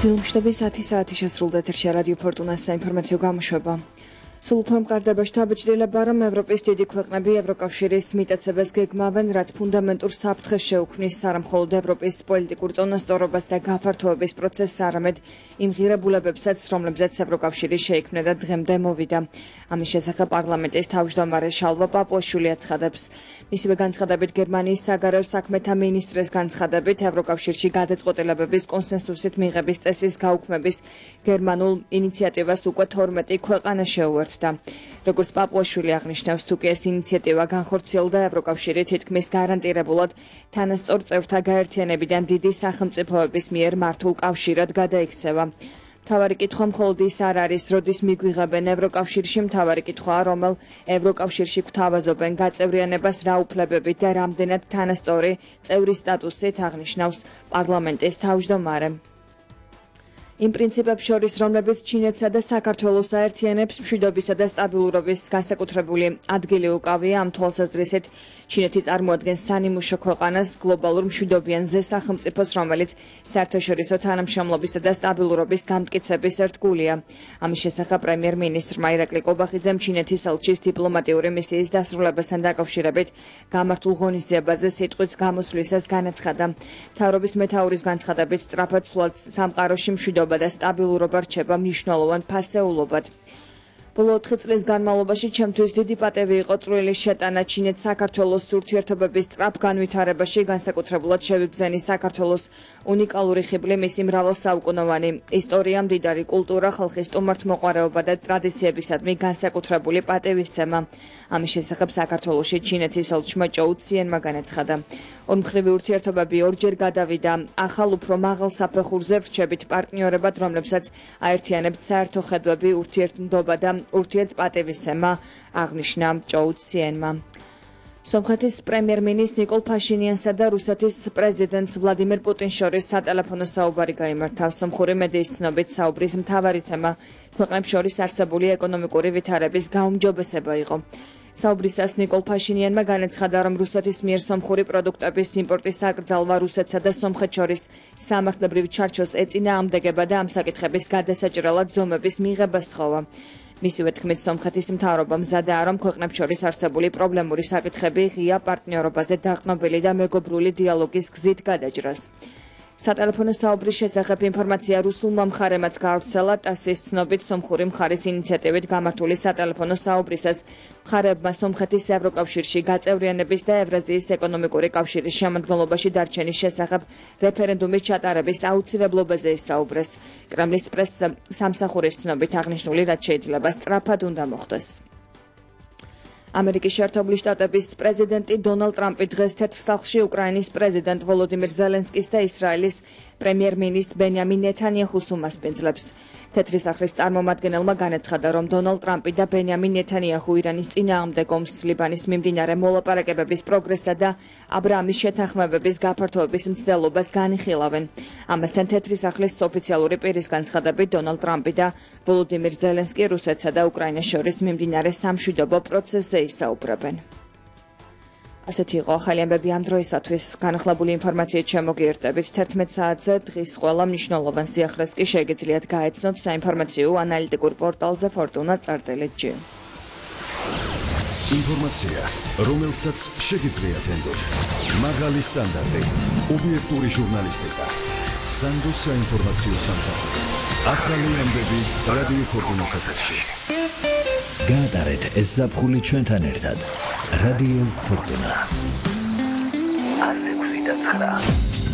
Დილმშტები 10 საათი შესრულდა ეთერში რადიო ფორტუნას საინფორმაციო გამოშვება. Სულ უფრო მყარდება შთაბეჭდილება, რომ ევროპის დიდი ქვეყნები ევროკავშირის მიტაცებას გეგმავენ, რაც ფუნდამენტურ საფრთხეს შეუქმნის არა მხოლოდ ევროპის პოლიტიკურ წონასწორობას და გაფართოების პროცესს, არამედ იმ ღირებულებებსაც, რომლებზეც ევროკავშირი შეიქმნა და დღემდე მოვიდა. ამის შესახებ პარლამენტის თავმჯდომარე შალვა პაპუაშვილი აცხადებს. მისივე განცხადებით გერმანიის საგარეო საქმეთა მინისტრის განცხადებით, ევროკავშირში გადაწყვეტილებების კონსენსუსით მიღების წესის გაუქმების გერმანულ ინიციატივას უკვე 12 ქვეყანა შეუერთდა. Როგორც პაპუაშვილი აღნიშნავს, თუ კი ეს ინიციატივა განხორციელდა, ევროკავშირი თითქმის გარანტირებულად თანასწორ წევრთა გაერთიანებიდან დიდი სახელმწიფოების მიერ მართულ კავშირად გადაიქცევა. მთავარი კითხვა მხოლოდ ის არ არის, როდის მიგვიღებენ ევროკავშირში, მთავარი კითხვაა, რომელ ევროკავშირში გვთავაზობენ გაწევრიანებას რა უფლებებით და რამდენად თანასწორი წევრის სტატუსით, აღნიშნავს პარლამენტის თავმჯდომარე. იმ პრინციპებს შორის, რომლებიც ჩინეთსა და საქართველოს აერთიანებს, მშვიდობისა და სტაბილურობის განსაკუთრებული ადგილი უკავია. ამ თვალსაზრისით, ჩინეთი წარმოადგენს სანიმუშო ქვეყანას, გლობალურ მშვიდობიან ზესახელმწიფოს, რომელიც საერთაშორისო თანამშრომლობისა და სტაბილურობის გამტკიცების ერთგულია. ამის შესახებ პრემიერ-მინისტრმა ირაკლი კობახიძემ ჩინეთის ელჩის დიპლომატიური მისიის დასრულებასთან დაკავშირებით გამართულ ღონისძიებაზე სიტყვით გამოსვლისას განაცხადა. მთავრობის მეთაურის განცხადებით, სწრაფად სვლად სამყაროში მშვიდობა და სტაბილურობა რჩება მნიშვნელოვან ფასეულობად. ბოლო 4 წლის განმავლობაში ჩემთვის დიდი პატევი იყო წვრილი შეტანა ჩინეთ-საქართველოს ურთიერთობების სწრაფ განვითარებაში, განსაკუთრებულად შევიგრძენი საქართველოს უნიკალური ხიბლი, მისი მრავალსაუკუნოვანი ისტორია, მდიდარი კულტურა, ხალხის სტუმართმოყვარეობა და ტრადიციებისადმი განსაკუთრებული პატევისცემა. ამის შესახებ საქართველოში ჩინეთის ელჩმა ჭოუ ციენმა განაცხადა. ორმხრივი ურთიერთობები ორჯერ გადავიდა ახალ უფრო მაღალ საფეხურზე ვრჩებით პარტნიორებად, რომლებსაც აერთიანებთ საერთო ხედვები, ურთიერთმდობა და ურთიერთპატევისცემა, აღნიშნა ჭოუ ციენმა. სომხეთის პრემიერ-მინისტრ ნიკოლ ფაშინიანსა და რუსეთის პრეზიდენტს ვლადიმერ პუტინს შორის სატელეფონო საუბარი გაიმართა. სომხური მედიის ცნობით, საუბრის მთავარი თემა ქვეყნებს შორის არსებული ეკონომიკური ვითარების გაუმჯობესება იყო. საუბრისას ნიკოლ ფაშინიანმა განაცხადა, რომ რუსეთის მიერ სომხური პროდუქტების იმპორტის აკრძალვა რუსეთსა და სომხეთს შორის სამართლებრივ ჩარჩოს ეწინააღმდეგება და ამ საკითხების გადასაჭრელად ზომების მიღება სთხოვა. მისივე თქმით, სომხეთის მთავრობა მზადაა, რომ ქვეყნებს შორის არსებული პრობლემური საკითხები ღია პარტნიორობაზე დაყრდნობილი და მეგობრული დიალოგის გზით გადაჭრას. სატელეფონო საუბრის შესახებ ინფორმაცია რუსულმა მხარემაც გაავრცელა. ტასის ცნობით, სომხური მხარის ინიციატივით გამართული სატელეფონო საუბრისას მხარეებმა სომხეთის ევროკავშირში გაწევრიანების და ევრაზიის ეკონომიკური კავშირის შემადგენლობაში დარჩენის შესახებ რეფერენდუმის ჩატარების აუცილებლობაზე ისაუბრეს. კრემლის პრეს-სამსახურის ცნობით აღნიშნული, რაც შეიძლება სწრაფად უნდა მოხდეს. ამერიკის შეერთებული შტატების პრეზიდენტი დონალდ ტრამპი დღეს თეთრ სახლში უკრაინის პრეზიდენტ ვოლოდიმირ ზელენსკის და ისრაელის პრემიერ-მინისტრ ბენიამინ ნეთანიაჰუს უმასპინძლებს. თეთრი სახლის წარმომადგენელმა განაცხადა, რომ დონალდ ტრამპი და ბენიამინ ნეთანიაჰუ ირანის წინააღმდეგ ომს, ლიბანის მიმდინარე მოლაპარაკებების პროგრესსა და აბრაამის შეთანხმებების გაფართოების მცდელობას განიხილავენ. ამასთან თეთრი სახლის ოფიციალური პირის განცხადებით, დონალდ ტრამპი და ვოლოდიმირ ზელენსკი რუსეთსა და უკრაინას შორის მიმდინარე სამშვიდობო პროცესზე ისაუბრებენ. ასეთი იყო ახალი ამბები ამ დროისათვის. განახლებული ინფორმაციით შემოგიერთდებით 11 საათზე. დღის ყველა მნიშვნელოვან სიახლეს კი შეგიძლიათ გაეცნოთ საინფორმაციო ანალიტიკურ პორტალზე fortuna.gr. ინფორმაცია, რომელსაც შეგიძლიათ ენდოთ. მაღალი სტანდარტი, ობიექტური ჟურნალისტიკა. სანდოს საინფორმაციო სამსახური. ახალი ამბები რადიო ფორტუნას ეთერში. გაატარეთ ეს ზაფხული ჩვენთან ერთად. რადიო ფორტუნა. 106.9